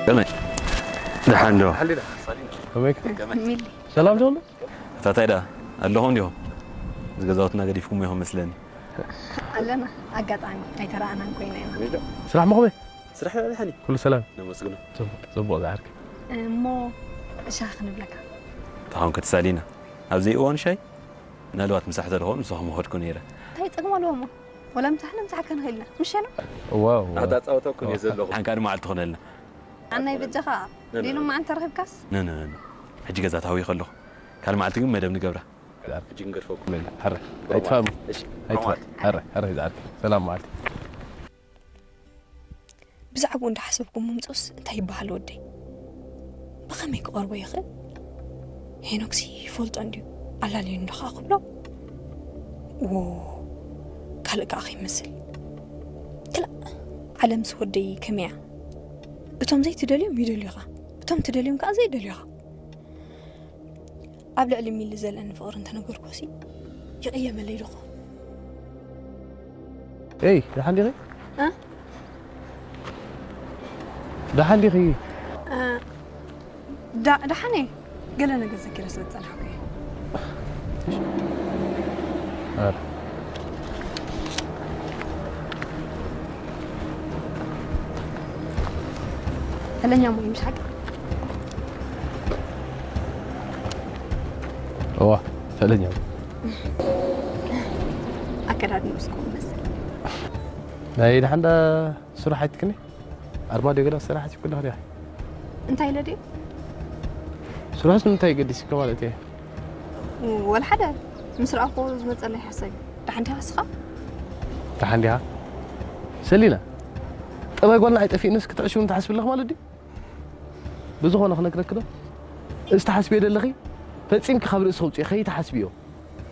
ከመይ? ደሓን ዶ? ከመይ? ሚሊ ሰላም ዶ? ታታይ ዳ ኣለኹም ዲኹም? እዚ ገዛውትና ገዲፍኩም ኢኹም መስለኒ። ኣለና። ኣጋጣሚ ኣይተረኣናን ኮይና ኢና። ስራሕ መኸመይ? ስራሕ ደሓን እዩ። ኩሉ ሰላም? ነመስግኖ። ጽቡቕ፣ ጽቡቕ ዝዓርከ። እሞ ሻሂ ክንብለካ። ተኻውን ክትሳሊና። ኣብዚ እዋን ሻይ ምናልባት ምሳሕ ተደኾን ንስኹም ኸድኩ ነይረ። እንታይ ጸገም ኣለዎ እሞ? ወላ ምሳሕ ንምሳሕ ከንኽእል ኢና። ምሸ ነው? ዋው። ኣታጻወተኩም እየ ዘለኹ። ሓንካ ድማ ዓል ትኾነልና። ኣናይ በጃኻ ሌሎ መዓልቲ ተረኺብካስ? ነ ነ ነ። ሕጂ ገዛ ታዊ ከለኹ ካልእ መዓልቲ ግን መደብ ንገብራ። ሕጂ ክንገድፈኩም። ሐረ ኣይትፋሙ። እሺ። ኣይትፋ ሐረ ሐረ ዝዓርከ። ሰላም መዓልቲ። ብዛዕባኡ እንዳሓሰብኩ ምምፅኡስ እንታይ ይበሃል ወደይ? ብኸመይ ክቐርቦ ይኽእል? ሄኖክሲ ይፈልጦ እንድዩ ኣላለዩ እንዶ ኸዓ ክብሎ? ዎ ካልእ ከዓ ከይመስል። ክላእ ዓለምስ ወደይ ከመይ እያ? እቶም ዘይትደልዮም ይደልዩኻ፣ እቶም ትደልዮም ከዓ ዘይደልዩኻ። ኣብ ልዕሊ ሚሊ ዘለኒ ፍቕሪ እንተነገርኩሲ ይቕየመለይ ዶ ኸውን? ኤይ ደሓን ዲኺ? እ? ደሓን ዲኺ? እ፣ ዳ- ደሓን እየ። ገለ ነገር ዘኪረ ስለ ዝጸናሕኩ እየ። ኧረ። ፈለኛ ሞ ይምሽ ሓቂ እዋ ፈለኛ። ኣከዳድንኡ እስኩም መስል ናይ ደሓን ዳ ስራሕ ኣይትክኒ? ኣርማድዮ ገዳ ስራሕ ኣይትክኒ ዲኻ? እንታይ ኢለ ድዩ? ስራሕስ ንምንታይ ገዲስካ ማለት እየ? ወላ ሓደ ምስ ረኣኹ ዝመፀለይ ሓሳብ እዩ። ደሓን ዲኻ ንስኻ? ደሓን ዲኻ? ሰሊና፣ ጠባይ ጓልና ኣይጠፊእንስ ክትዕሽውን ትሓስቢ ኣለኽ ማለት ድዩ? ብዝኾነ ክነግረኪ ዶ? እዚ ትሓስብዮ ዘለኺ ፈጺምኪ ካብ ርእሲ ከውፅኦ ከይትሓስብዮ።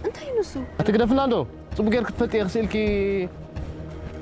እንታይ እዩ ንሱ? ኣትግደፍና እንዶ፣ ጽቡቅ ጌርክ ትፈልጥዮ ክስእልኪ